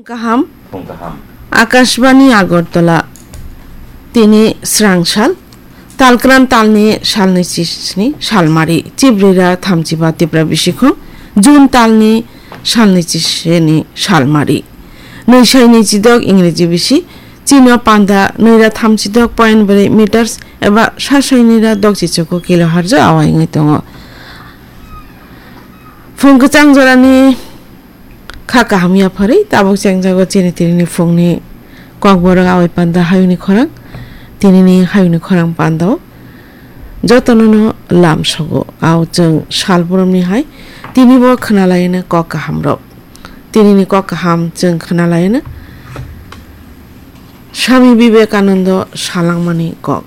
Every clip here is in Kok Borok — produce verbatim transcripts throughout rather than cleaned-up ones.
Kaham. Phung kaham. Akashbani Agartala. Tini srang sal. Talkran talni salni chisni salmari. Chibrira thamchiba Tipra bisikhong. June talni salni chisni salmari. Nwisai nwichidok Ingreji bisi. Chino panda nwira thamchidok point bwrwi meters eba sasai nwira dokchichoko kilohertz o awai wngwi tongo. Phung kwchang jorani kha kaham yapharwi tabuk chengjago chini tinini phungni kokborok awai panda hayungni khorang. Tinini hayungni khorang pandao jotono no lam sogo. Ao chwng sal boromni hai tinibo khwnalaino kok kahamrok. Tinini kok kaham chwng khwnalaino Swami Vivekanando salangmani kok.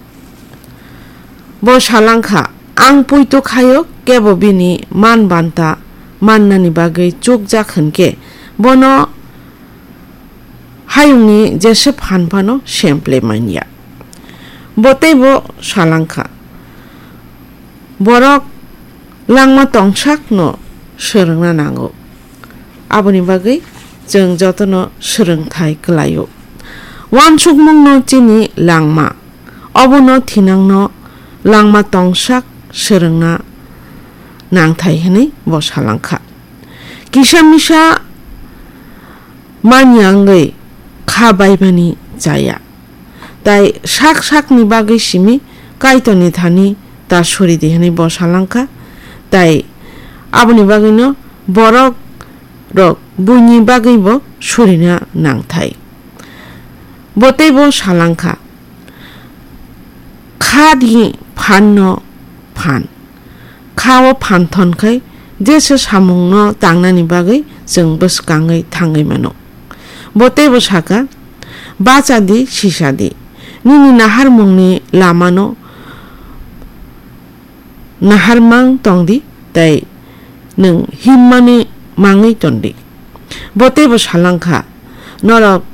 Bo salangkha, "Ang puitu khaio, kebo bini man banta mannani bagwi chukjak hwnkhe, bono hayungni jese phan phano semple manya." Bo teibo salangkha, "Borok langma tongsakno swrwngna nango." Aboni bagwi chwng jotono swrwngthai kwlaio. Uansukmungno chini langma, obono thinangno langma tongsak swrwngna nangthai hwnwi bo salangkha. Kisa misa manya wngwi kha baibani chaya. Tai sak sakni bagwi simi Kaitorni thani ta suri di hwnwi bo salangkha. Tai aboni bagwino borok rok buini bagwi bo surina nangthai. Bo teibo salangkha, "Kha di phanno phan." Kha o phan thon khai jesa samungno tangnani bagwi chwng bwskangwi thangwi mano. Bo teibo saka, "Bacha di, sisa di, nini naharmungni lamano naharmang tong di, tei nwng himmani mangwi ton di." Bo teibo salangkha, "Norok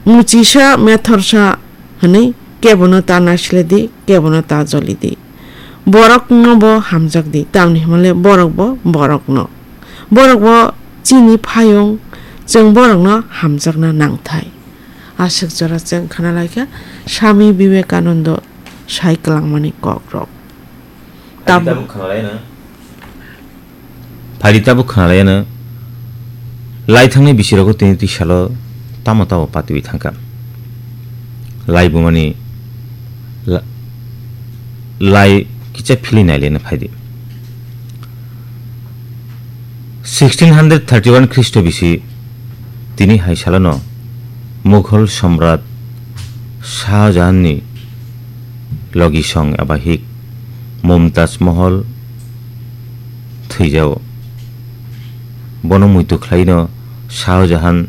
muchisa methorsa hwnwi kebono ta naisle di, kebono ta joli di. Borokno bo hamjak di, tamni hwnle borok bo borokno. Borok bo chini phayung, chwng borokno hamjakna nangthai." Aswk jora chwng khna laikha Swami Vivekanando sai kwlangmani kokrok. Tabuk khna laino. Phaidi tabuk khna laino. Lai thangnai bisirogo tini twi salo tamo tamo patiwi thangkha. Lai bumani la-, lai kicha philwi nai leno phaidi. Sixteen hundred thirty-one Khristo bisi tini hai salono Mughal Samrat Shah Jahanni logisong eba hik Mumtaz Mahal thwijao. Bono muitu khlaino Shah Jahan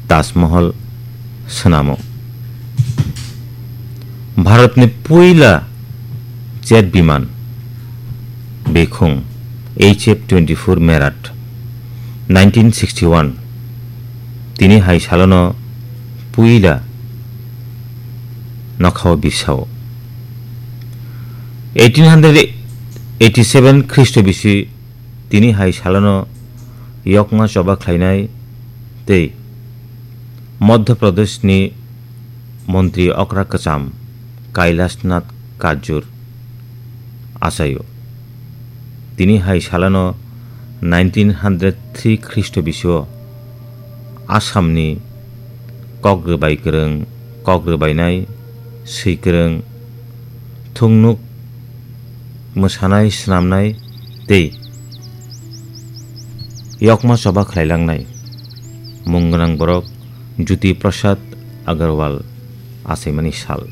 Taj Mahal swnamo. Bharatni puila jet biman bekhung H F twenty-four Meerut nineteen sixty-one tini hai salono puila nokhao bisao. Eighteen hundred eighty-seven Khristo bisi tini hai salono yokma choba khlainai tei Madhya Pradeshni montri okra kwcham Kailash Nath Kajur achaio. Tini hai salano nineteen hundred three Khristo bisio Assamni kok rwbai kwrwng, kok rwbainai, swi kwrwng, thungnuk mwsanai, swnamnai tei yokma choba khlailangnai mung gwnang borok Jyoti Prasad Agarwal achaimani sal.